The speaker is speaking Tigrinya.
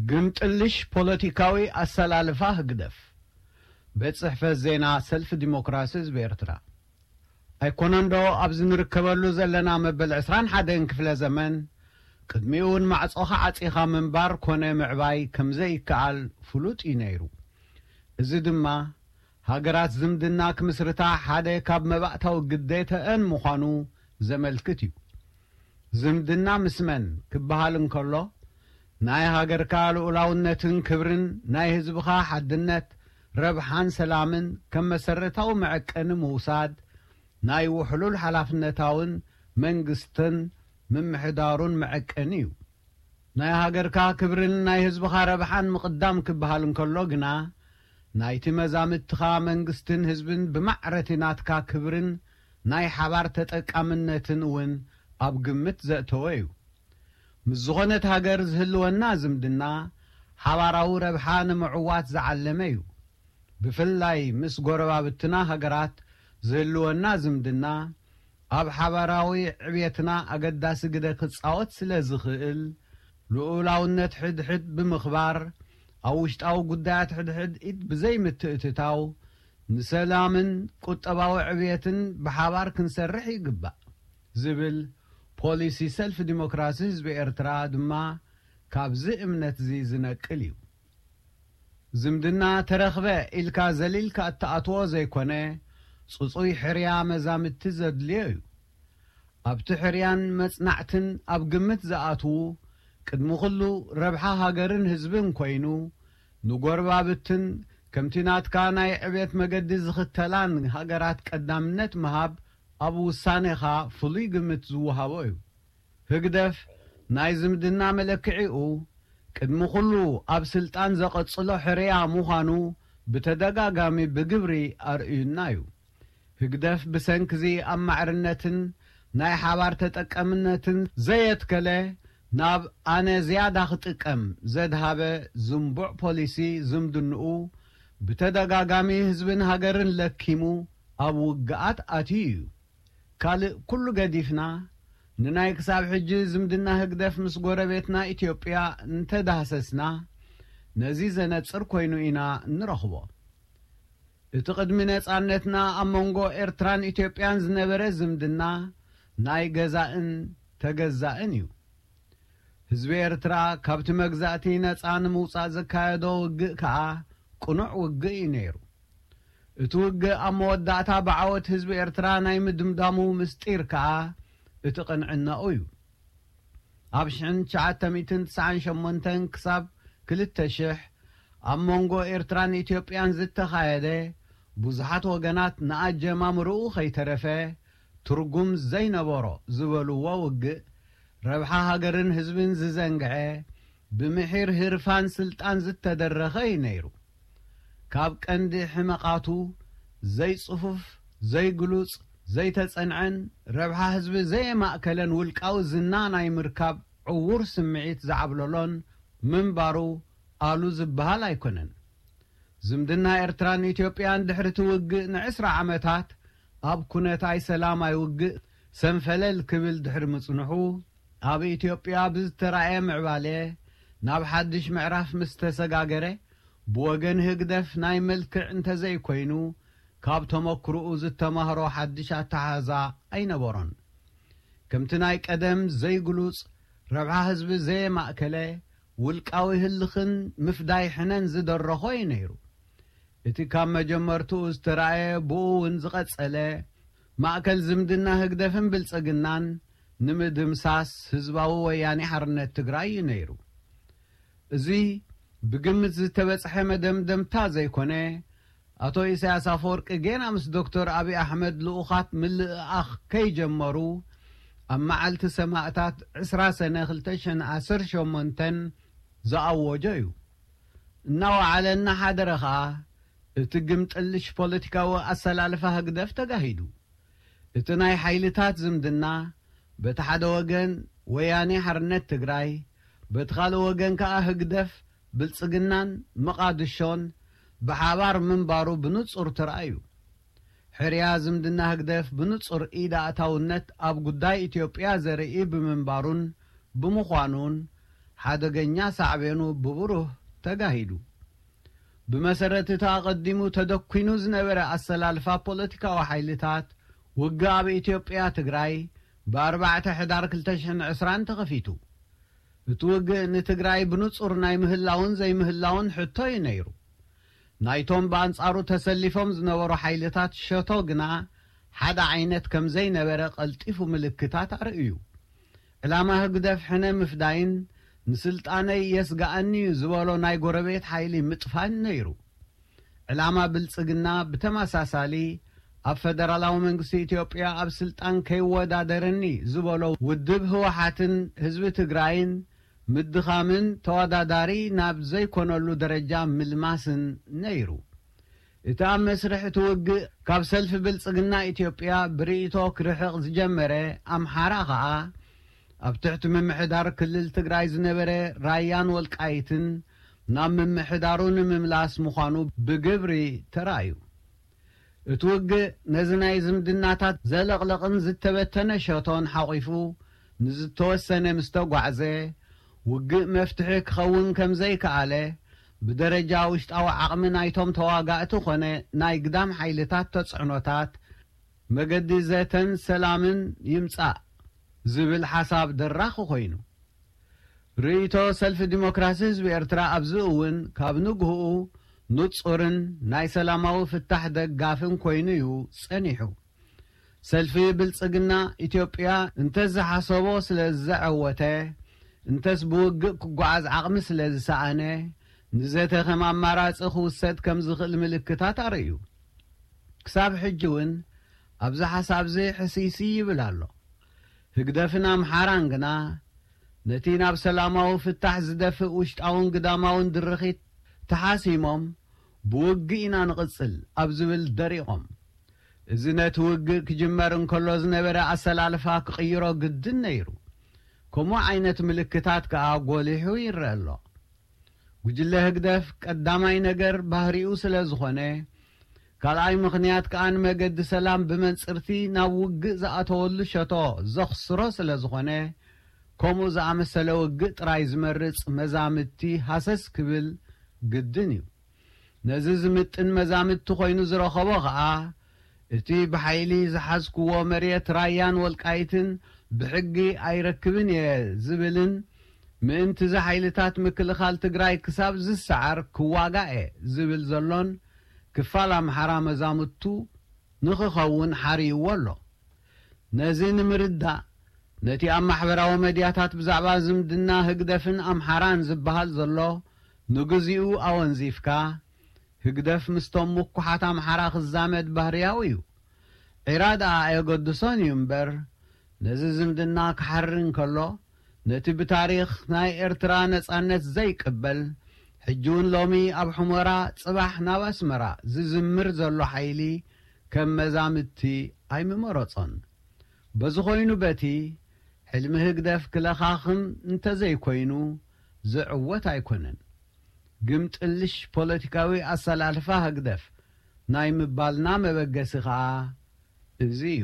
ግምጥልሽ ፖለቲካዊ ኣሰላልፋ ህግደፍ። ቤት ጽሕፈት ዜና ሰልፊ ዲሞክራሲ ህዝቢ ኤርትራ። ኣይኮነንዶ ኣብዚ ንርከበሉ ዘለና መበል ዕስራን ሓደን ክፍለ ዘመን፣ ቅድሚኡ እውን ማዕጾኻ ዓጺኻ ምንባር ኮነ ምዕባይ ከም ዘይከኣል ፍሉጥ እዩ ነይሩ። እዚ ድማ ሃገራት ዝምድና ክምስርታ ሓደ ካብ መባእታዊ ግዴተአን ምዃኑ ዘመልክት እዩ። ዝምድና ምስ መን ክበሃል እንከሎ፣ ናይ ሃገርካ ልኡላውነትን ክብርን ናይ ህዝብኻ ሓድነት፣ ረብሓን ሰላምን ከም መሰረታዊ መዐቀኒ ምውሳድ ናይ ውሕሉል ሓላፍነታውን መንግስትን ምምሕዳሩን መዐቀኒ እዩ። ናይ ሃገርካ ክብርን ናይ ህዝብኻ ረብሓን ምቕዳም ክበሃል እንከሎ ግና፣ ናይቲ መዛምትኻ መንግስትን ህዝብን ብማዕረቲ ናትካ ክብርን ናይ ሓባር ተጠቃምነትን እውን ኣብ ግምት ዘእተወ እዩ። ምስ ዝኾነት ሃገር ዝህልወና ዝምድና ሓባራዊ ረብሓ ንምዕዋት ዝዓለመ እዩ። ብፍላይ ምስ ጎረባብትና ሃገራት ዝህልወና ዝምድና ኣብ ሓባራዊ ዕብየትና ኣገዳሲ ግደ ክጻወት ስለ ዝኽእል፣ ልኡላውነት ሕድሕድ ብምኽባር፣ ኣብ ውሽጣዊ ጉዳያት ሕድሕድ ኢድ ብዘይምትእትታው፣ ንሰላምን ቁጠባዊ ዕብየትን ብሓባር ክንሰርሕ ይግባእ ዝብል ፖሊሲ ሰልፊ ዲሞክራሲ ህዝቢ ኤርትራ ድማ ካብዚ እምነትዚ ዝነቅል እዩ። ዝምድና ተረኽበ ኢልካ ዘሊልካ እትኣትዎ ዘይኮነ፣ ጽጹይ ሕርያ መዛምድቲ ዘድልዮ እዩ። ኣብቲ ሕርያን መጽናዕትን ኣብ ግምት ዝኣትዉ፣ ቅድሚ ኩሉ ረብሓ ሃገርን ህዝብን ኮይኑ፣ ንጎረባብትን ከምቲ ናትካ ናይ ዕብየት መገዲ ዝኽተላን ሃገራት ቀዳምነት ምሃብ ኣብ ውሳኔኻ ፍሉይ ግምት ዝወሃቦ እዩ። ህግደፍ ናይ ዝምድና መለክዒኡ ቅድሚ ኩሉ ኣብ ስልጣን ዘቐጽሎ ሕርያ ምዃኑ ብተደጋጋሚ ብግብሪ ኣርእዩና እዩ። ህግደፍ ብሰንክዚ ኣብ ማዕርነትን ናይ ሓባር ተጠቀምነትን ዘየትከለ፣ ናብ ኣነ ዝያዳ ክጥቀም ዘድሃበ ዝንቡዕ ፖሊሲ ዝምድንኡ ብተደጋጋሚ ህዝብን ሃገርን ለኪሙ ኣብ ውግኣት ኣትዩ እዩ። ካልእ ኩሉ ገዲፍና፣ ንናይ ክሳብ ሕጂ ዝምድና ህግደፍ ምስ ጎረቤትና ኢትዮጵያ እንተዳህሰስና፣ ነዚ ዘነጽር ኮይኑ ኢና እንረኽቦ። እቲ ቅድሚ ነጻነትና ኣብ መንጎ ኤርትራን ኢትዮጵያን ዝነበረ ዝምድና ናይ ገዛእን ተገዛእን እዩ። ህዝቢ ኤርትራ ካብቲ መግዛእቲ ነጻ ንምውጻእ ዘካየዶ ውግእ ከኣ ቅኑዕ ውግእ እዩ ነይሩ። እቲ ውግእ ኣብ መወዳእታ ብዓወት ህዝቢ ኤርትራ ናይ ምድምዳሙ ምስጢር ከኣ እቲ ቅንዕናኡ እዩ። ኣብ ሽሕን ትሽዓተ ሚእትን ትስዓን ሸሞንተን ክሳብ ክልተ ሽሕ ኣብ መንጎ ኤርትራን ኢትዮጵያን ዝተኻየደ፣ ብዙሓት ወገናት ንኣጀማምርኡ ከይተረፈ ትርጉም ዘይነበሮ ዝበልዎ ውግእ፣ ረብሓ ሃገርን ህዝብን ዝዘንግዐ፣ ብምሒር ህርፋን ስልጣን ዝተደረኸ እዩ ነይሩ። ካብ ቀንዲ ሕመቓቱ፣ ዘይጽፉፍ፣ ዘይግሉጽ፣ ዘይተጸንዐን ረብሓ ህዝቢ ዘየማእከለን ውልቃዊ ዝና ናይ ምርካብ ዕዉር ስምዒት ዝዓብለሎን ምንባሩ ኣሉ ዝበሃል ኣይኮነን። ዝምድና ኤርትራን ኢትዮጵያን ድሕሪ እቲ ውግእ ንዕስራ ዓመታት ኣብ ኩነታይ ሰላማይ ውግእ ሰንፈለል ክብል ድሕሪ ምጽንሑ፣ ኣብ ኢትዮጵያ ብዝተራእየ ምዕባለ ናብ ሓድሽ ምዕራፍ ምስ ተሰጋገረ፣ ብወገን ህግደፍ ናይ መልክዕ እንተዘይኮይኑ፣ ካብ ተመክሮኡ ዝተማህሮ ሓድሽ ኣተሓሕዛ ኣይነበሮን። ከምቲ ናይ ቀደም ዘይግሉጽ፣ ረብሓ ህዝቢ ዘየማእከለ፣ ውልቃዊ ህልኽን ምፍዳይ ሕነን ዝደረኾ እዩ ነይሩ። እቲ ካብ መጀመርትኡ ዝተራእየ፣ ብኡ እውን ዝቐጸለ፣ ማእከል ዝምድና ህግደፍን ብልጽግናን ንምድምሳስ ህዝባዊ ወያኔ ሓርነት ትግራይ እዩ ነይሩ። እዚ ብግምት ዝተበጽሐ መደምደምታ ዘይኮነ፣ ኣቶ ኢሳያስ ኣፈወርቂ ጌና ምስ ዶክተር ኣብይ ኣሕመድ ልኡኻት ምልእኣኽ ከይጀመሩ፣ ኣብ መዓልቲ ሰማእታት ዕስራ ሰነ ክልተ ሽሕን ዓሰርተ ሸሞንተን ዝኣወጆ እዩ። እናወዓለ እናሓደረ ኸኣ፣ እቲ ግምጥልሽ ፖለቲካዊ ኣሰላልፋ ህግደፍ ተጋሂዱ። እቲ ናይ ሓይልታት ዝምድና፣ በቲ ሓደ ወገን ወያኔ ሓርነት ትግራይ፣ በቲ ካልእ ወገን ከኣ ህግደፍ፣ ብልጽግናን መቓድሾን ብሓባር ምንባሩ ብንጹር ተራእዩ። ሕርያ ዝምድና ህግደፍ ብንጹር ኢድ ኣእታውነት ኣብ ጉዳይ ኢትዮጵያ ዘርኢ ብምንባሩን ብምዃኑን፣ ሓደገኛ ሳዕቤኑ ብብሩህ ተጋሂዱ። ብመሰረት እቲ ኣቐዲሙ ተደኲኑ ዝነበረ ኣሰላልፋ ፖለቲካዊ ሓይልታት፣ ውግእ ኣብ ኢትዮጵያ ትግራይ ብ ኣርባዕተ ሕዳር ክልተ ሽሕን ዕስራን ተኸፊቱ። እቲ ውግእ ንትግራይ ብንጹር ናይ ምህላውን ዘይምህላውን ሕቶ እዩ ነይሩ። ናይቶም ብኣንጻሩ ተሰሊፎም ዝነበሩ ሓይልታት ሸቶ ግና ሓደ ዓይነት ከም ዘይነበረ ቀልጢፉ ምልክታት ኣርእዩ። ዕላማ ህግደፍ ሕነ ምፍዳይን ንስልጣነይ የስግኣኒ እዩ ዝበሎ ናይ ጎረቤት ሓይሊ ምጥፋን ነይሩ። ዕላማ ብልጽግና ብተመሳሳሊ ኣብ ፈደራላዊ መንግስቲ ኢትዮጵያ ኣብ ስልጣን ከይወዳደረኒ ዝበሎ ውድብ ህወሓትን ህዝቢ ትግራይን ምድኻምን ተወዳዳሪ ናብ ዘይኮነሉ ደረጃ ምልማስን ነይሩ። እቲ ኣብ መስርሕ እቲ ውግእ ካብ ሰልፊ ብልጽግና ኢትዮጵያ ብርእይቶ ክርሕቕ ዝጀመረ ኣምሓራ ኸኣ፣ ኣብ ትሕቲ ምምሕዳር ክልል ትግራይ ዝነበረ ራያን ወልቃይትን ናብ ምምሕዳሩ ንምምላስ ምዃኑ ብግብሪ ተራእዩ። እቲ ውግእ ነዚ ናይ ዝምድናታት ዘለቕለቕን ዝተበተነ ሸቶን ሓቒፉ ንዝተወሰነ ምስ ተጓዕዘ፣ ውግእ መፍትሒ ክኸውን ከም ዘይከኣለ፣ ብደረጃ ውሽጣዊ ዓቕሚ ናይቶም ተዋጋእቲ ኾነ ናይ ግዳም ሓይልታት ተጽዕኖታት፣ መገዲ ዘተን ሰላምን ይምጻእ ዝብል ሓሳብ ደራኺ ኮይኑ። ርእይቶ ሰልፊ ዲሞክራሲ ህዝቢ ኤርትራ ኣብዚ እውን ካብ ንግህኡ ንጹርን ናይ ሰላማዊ ፍታሕ ደጋፍን ኮይኑ እዩ ጸኒሑ። ሰልፊ ብልጽግና ኢትዮጵያ እንተዝሓሰቦ ስለ ዘዐወተ፣ እንተስ ብውግእ ክጓዓዝ ዓቕሚ ስለ ዝሰኣነ፣ ንዘተ ከም ኣማራጺ ክውሰድ ከም ዝኽእል ምልክታት ኣርእዩ። ክሳብ ሕጂ እውን ኣብዚ ሓሳብዚ ሕስይስይ ይብል ኣሎ። ህግደፍን ኣምሓራን ግና ነቲ ናብ ሰላማዊ ፍታሕ ዝደፍእ ውሽጣውን ግዳማውን ድርኺት ተሓሲሞም፣ ብውግእ ኢና ንቕጽል ኣብ ዝብል ደሪቖም። እዚ ነቲ ውግእ ክጅመር እንከሎ ዝነበረ ኣሰላልፋ ክቕይሮ ግድን ነይሩ። ከምኡ ዓይነት ምልክታት ከኣ ጎሊሑ ይረአ ኣሎ። ጉጅለ ህግደፍ ቀዳማይ ነገር ባህሪኡ ስለ ዝኾነ፣ ካልኣይ ምኽንያት ከኣ ንመገዲ ሰላም ብመንጽርቲ ናብ ውግእ ዝኣተወሉ ሸቶ ዘኽስሮ ስለ ዝኾነ፣ ከምኡ ዝኣመሰለ ውግእ ጥራይ ዝመርጽ መዛምድቲ ሃሰስ ክብል ግድን እዩ። ነዚ ዝምጥን መዛምድቲ ኮይኑ ዝረኸቦ ኸኣ፣ እቲ ብሓይሊ ዝሓዝክዎ መሬት ራያን ወልቃይትን ብሕጊ ኣይረክብን እየ ዝብልን፣ ምእንቲ እዚ ሓይልታት ምክልኻል ትግራይ ክሳብ ዝሰዓር ክዋጋእ እየ ዝብል ዘሎን ክፋል ኣምሓራ መዛምድቱ ንኽኸውን ሓርይዎ ኣሎ። ነዚ ንምርዳእ፣ ነቲ ኣብ ማሕበራዊ መድያታት ብዛዕባ ዝምድና ህግደፍን ኣምሓራን ዝበሃል ዘሎ ንግዚኡ ኣወንዚፍካ፣ ህግደፍ ምስቶም ምኩሓት ኣምሓራ ክዛመድ ባህርያዊ እዩ። ዒራ ደኣ ኣየገድሶን እዩ እምበር፣ ነዚ ዝምድና ክሓሪ እንከሎ፣ ነቲ ብታሪኽ ናይ ኤርትራ ነጻነት ዘይቅበል፣ ሕጂ እውን ሎሚ ኣብ ሑመራ፣ ጽባሕ ናብ ኣስመራ ዝዝምር ዘሎ ሓይሊ ከም መዛምድቲ ኣይምመረጾን። በዚ ኾይኑ በቲ፣ ሕልሚ ህግደፍ ክለኻኽም እንተዘይኮይኑ ዝዕወት ኣይኮነን። ግምጥልሽ ፖለቲካዊ ኣሰላልፋ ህግደፍ ናይ ምባልና መበገሲ ኸኣ እዚ እዩ።